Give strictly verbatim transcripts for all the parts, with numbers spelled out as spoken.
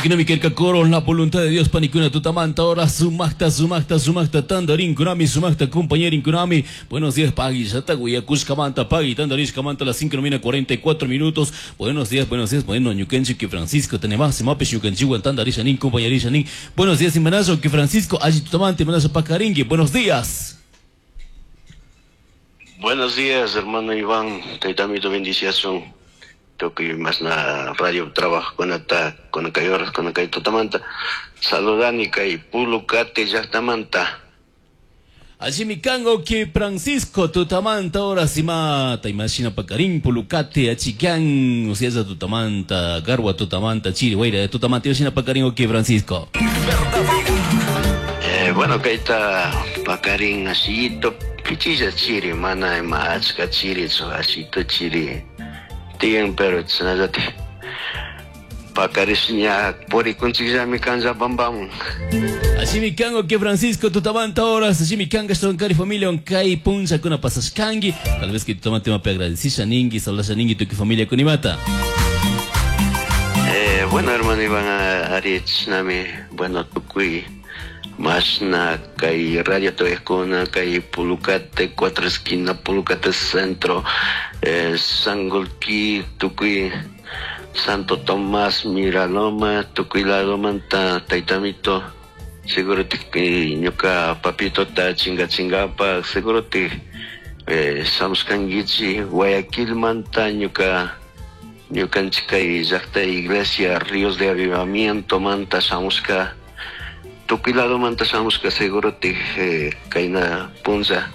Ukinami kerka coro la voluntad de Dios panikuna tutamanta ahora sumaqta sumaqta sumaqta tandarin kunami sumaqta compañerin kunami. Buenos días pagui yata guyakushkamanta pagui tandarishkamanta las cinco cuarenta y cuatro minutos. Buenos días, buenos días. Bueno, ñukanchik que Francisco tenemos mapes ñukanchik tandarisha nin compañerisha nin. Buenos días imanazo que Francisco allí tutamante imanazo pakaringi. Buenos días. Buenos días, hermano Iván. Taitamito bendición. Toque más na radio trabajo con ata con cayoras con kay tutamanta. Saludani kay Pulucate llaqtamanta. Allí mi cango que Francisco tutamanta ahora si mata imagina pacarín Pulucate achican o sea tutamanta garwa tutamanta chiri guaira tutamanta imagina pacarín que Francisco. Eh, bueno kaita pacarín asito pichilla chiri mana ima achka chiri so asito chiri tiyan pero tsanallati pakarisña purikunchikllami kanlla pampamun. Así mi cango que Francisco tutamanta horas, así mi canga estoy familia kay puncha kuna pasashkangi, tal vez que tutamante mape agradecisha ningi, salasha ningi tu familia kunimata. Eh, bueno hermano Iván Arietznami, bueno tukuy masna kay radio toyakuna kay Pulucate cuatro esquina Pulucate centro eh, Sangolquí tukuy Santo Tomás Miraloma tukuy ladomanta taitamito seguro te ñuka papito ta chinga chingapa seguro te eh, samskangichi Guayaquil manta ñuka ñukanchik llaqta iglesia Ríos de Avivamiento manta samuska tukuy lado manta samuska seguro te eh, kayna punza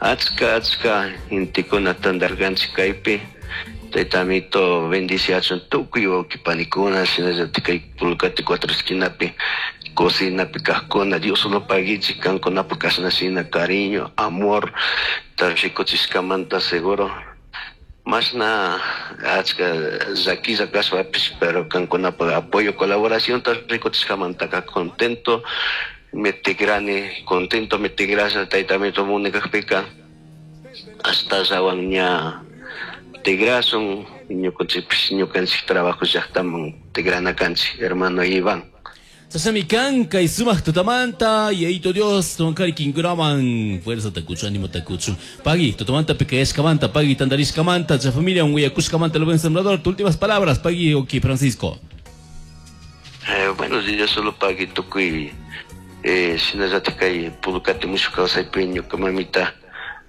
achka achka intikuna tandarkanchik kaypi taitamito bendiciachun tukuy wawqipanikuna shinallatik kay Pulucate cuatro esquinapi cocinapi kaqkuna Dios solo paguichik kankunapaq kashnashina cariño amor rikuchiskamanta seguro masna achka llakilla kashpapis pero kankunapaq apoyo colaboración rikuchiskamantaka contento me tigrani contento me tigrasha taitamito munikaqpika hasta llawan ña tigrasun ñukanchikpis ñukanchik trabajo llaqtaman tigrana kanchik hermano Iván. Sasami kanka y sumaq tutamanta y ahí Dios tonkari kinkuraman fuerza takuchu ánimo takuchu pagui tutamanta pequeñashkamanta pagui tandarishkamanta cha familia un huyakushkamanta lo buen sembrador. Tus últimas palabras pagui oki Francisco. Eh, buenos días solo pagui tukuy eh shinallatik kay Pulucate mushuq kawsaypi ñuka mamita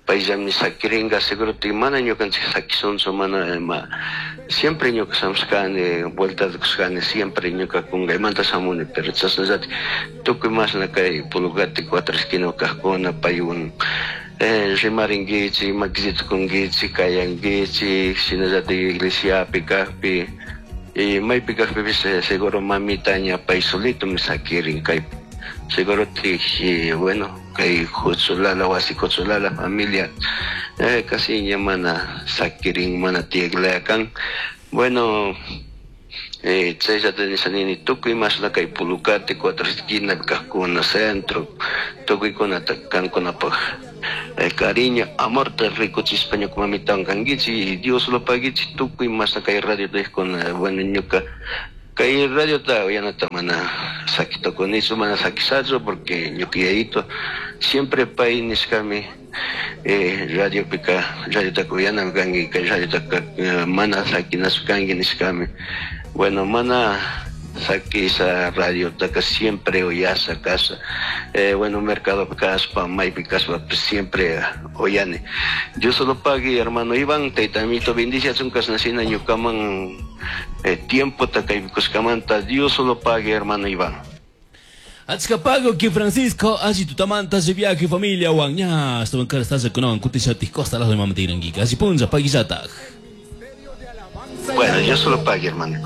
payllami sakiringa seguro te mana ñukanchik sakisunchu mana ima siempre ñuka samushkani vuelta kushkani siempre ñuka kungaymanta shamuni pero chashnallati tukuy masna kay Pulucate cuatro esquina kaqkuna paywan eh, rimarinkichik makillita kunkichik kayankichik shinallatik iglesiapi kaqpi y maypi kaqpipis eh, seguro mamita ña pay solitomi sakirin kay seguro te bueno kay Cocholala wasi Cocholala familia eh, casi ña mana sakirin mana tiyaklayakan bueno eh, chayllata nishanini tukuy masna kay Pulucate cuatro esquina kaqkuna centro tukuykunata kankunapaq eh, cariño amor te rikuchispa ñuka mamitawan kankichik y Dios lo paguichik tukuy masna kay radio tejkuna bueno ñuka kay radio ta uyanata mana sakitokunichu mana sakisachu porque ñuka yayito siempre pay nishkami eh, radio pika radiotaka uyanami kanki kay radiotaka mana sakinachu kanki nishkami bueno mana sakisha radiotaka siempre uyasha kasha eh, bueno mercado kaspa maypi kaspa siempre uyani Dios solo pague hermano Iván taytamito bendiciachun kashnashina ñukaman eh, tiempo takaykuskamanta Dios solo pague hermano Iván. Achka pago que Francisco allí tutamanta se viaje familia wan ña estuvo en cara estás con kutishatik costa las de mamatirangi casi punza paguillataj. Bueno, yo solo pague hermano.